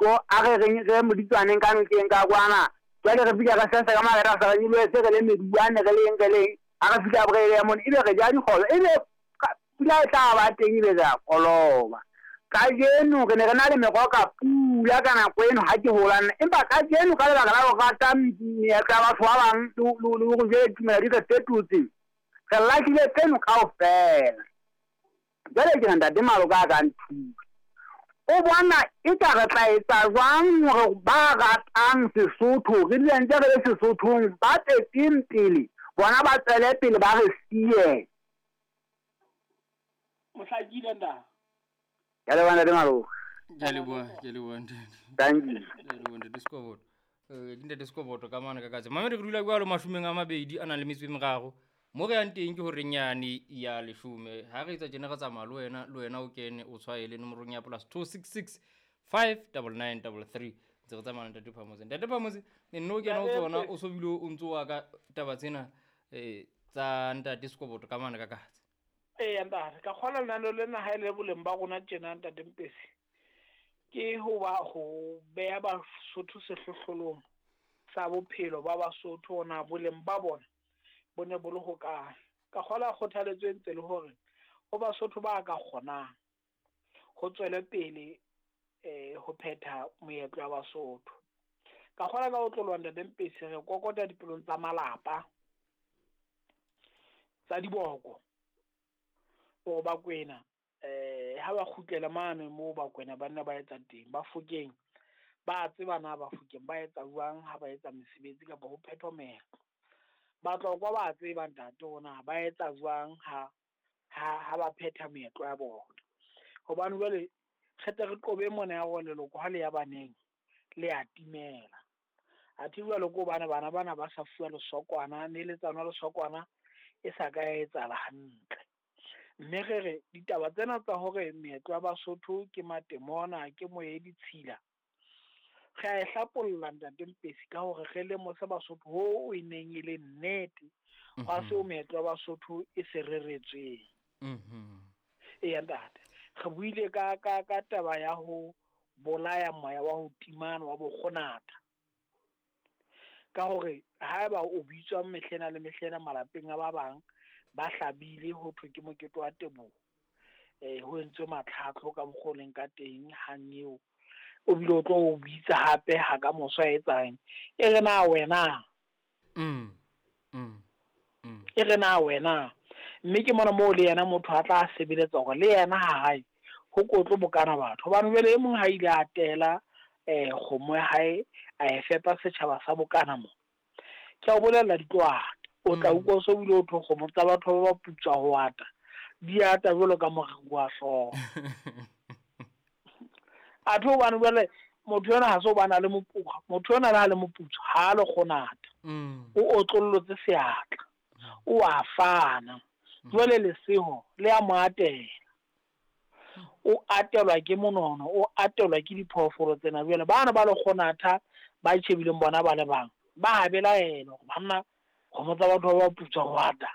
Ko a re reng re moditswaneng ka nokeng ka kwana. Jwale re fihla re sesa ka mare ra sa re nyolohe se re le meduwane re leng re leng. Ha re fihla re ya mona ebe re ja dikgobe ebe pula e tla ba teng ebe re a koloba. Kajeno re ne re na le meroho ka pula ka nako eno ha ke hola nna. Empa kajeno ka lebaka la ho rata meetlo ya batho ba bang le hore jwale ditumelo di re fetotse, re lahlile tseno kaofela. Jwale ke re ntate Maloka a ka nthusa. O bona eka re tla etsa jwang hore ba ratang Sesotho re dule ntse re le Sesothong, ba tswetseng pele bona ba tswele pele ba re siye. Mohlakile ntate. Ke a leboha ntate Maloka. Ke a leboha, ke a leboha ntate. Thank you. Ke a leboha ntate Sekoboto. Ke ntate Sekoboto ka mane ka katse. Mamedi re dula jwalo mashomeng a mabedi a nang le metso e meraro. Mo re yang teng ke horeng yane ya leshome. Ha re etsa tjena re tsamaya le wena, le wena o kene o tshwaele nomorong ya plus 266 599 33. Ntse re tsamaya le ntate Phamotse. Ntate Phamotse, nne o kena o tsona o so bile o ntso wa ka taba tsena tsa ntate Sekoboto ka mane ka katse. Eya ntate, ka kgona lenaneo lena ha e le boleng ba rona tjena ntate Mpesi. Ke ho ba ho beha Basotho sehlohlolong sa bophelo ba Basotho ona boleng ba bona bo ne bo le hokae. Ka kgola kgothaletso e ntse le hore ho Basotho ba ka kgonang ho tswele pele ho phetha moetlo wa Basotho. Ka kgola ka ho tloloha ntate Mpesi re kokota dipelong tsa malapa tsa diboko hore Bakwena ha ba kgutlela mane moo Bakwena ba nna ba etsa teng, Bafokeng ba tseba na Bafokeng ba etsa jwang ha ba etsa mesebetsi kapa ho phethwa meetlo. Batlokwa ba tseba ntate hore ba etsa jwang ha ba phetha meetlo ya bona. Hobane jwale re tle re qobe mona ya hore leloko ha le ya baneng le a timela. Athe jwale ke hobane bana bana ba sa fuwa lesokwana, neletsano ya lesokwana e sa ka ya etsahala hantle. Mme re re ditaba tsena tsa hore meetlo ya Basotho ke matemona, ke moya e ditshila, re a e hlapolla ntate Mpesi ka hore re lemose Basotho ho e neng e le nnete hwa seo meetlo ya Basotho e se reretsweng. Eya ntate, re buile ka taba ya ho bolaya moya wa ho timana wa bokgonatha. Ka hore haeba o bitswa mehlena le mehlena malapeng a ba bang ba hlabile ho thwe ke mokete wa teboho, ho entswe matlhatlo ka mokgwa o leng ka teng hang eo, o bile o tlo o bitsa hape ha ka moso a etsang e re na wena, e re na wena. Mme ke mona moo le yena motho a tla sebeletsa hore le yena ha hae ho kotlo bokana batho. Hobane jwale e mong ha ile a tela kgomo ya hae a e fepa setjhaba sa bokana mo, ke a o bolella di tlo ata. O tla utlwa so bile o thwe kgomo tsa batho ba putswa ho ata, di ata jwalo ka moriri wa hlooho. Athe hobane jwale motho ena ha se hobane a le moputswa, motho ena le ha le moputswa ha le kgonata, o otlollotse seatla, o a fana. Jwale leseho le a mo atela, o atelwa ke monono, o atelwa ke diphoofolo tsena. Jwale bana ba le kgonatha ba tjhebileng bona ba le bang ba belaela hore banna kgomo tsa batho ba putswa ho ata,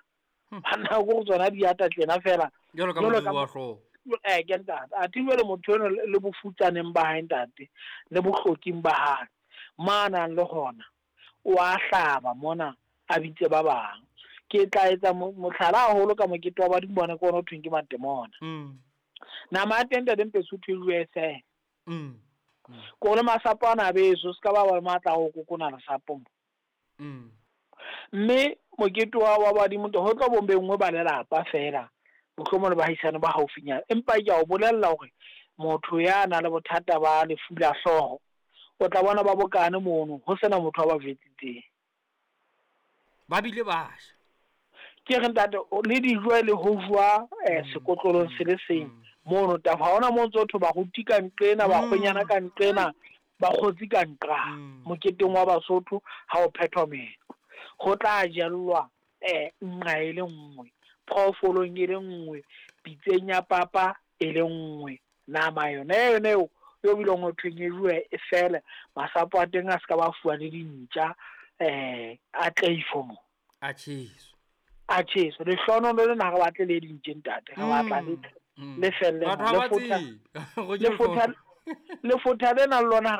banna ko tsona di ata tjena fela jwalo ka moriri wa hlooho. Ke ntate. Athe jwale motho eno le bofutsaneng ba hae ntate, le bohloking ba hae manang le hona o a hlaba mona a bitse ba bang. Ke tla etsa mohlala haholo ka mokete wa badimo bona ke ona o thweng ke matemona. Nama ya teng ntate Mpesi o thwe jwe feela. Ko le masapo ana a beso, se ka ba ba matla ho kokona lesapo mo. Mme mokete wa badimo ho tlo bo bengwe ba lelapa fela, mohlomong le bahaisane ba haufinyana. Empa ke a o bolella hore motho ya nang le bothata ba lefu la hlooho o tla bona ba bokane mono ho sena motho a ba jwetsitseng. Ba bile ba ja. Ke re ntate le dijo le ho jwa sekotlolong se le seng mono tafa. Ha hona moo ntso thwe baruti ka nqena, bakgwenyana ka nqena, bakgotsi ka nqa. Moketeng wa Basotho ha o phethwa meetlo, ho tla jellwa nqa e le nngwe, phoofolong e le nngwe, pitseng ya papa e le nngwe, nama yona yona eo yo bileng ho thweng e jowe e fele, masapo a teng a se ka ba fuwa le dintja, a tleifo mo. A tjheswe. A tjheswe. Lehlohonolo lena ha re batle le dintje ntate, re batla le felle Batho ha le ba fotha, tsebe. Le fotha, Lefotha lena le lona ha re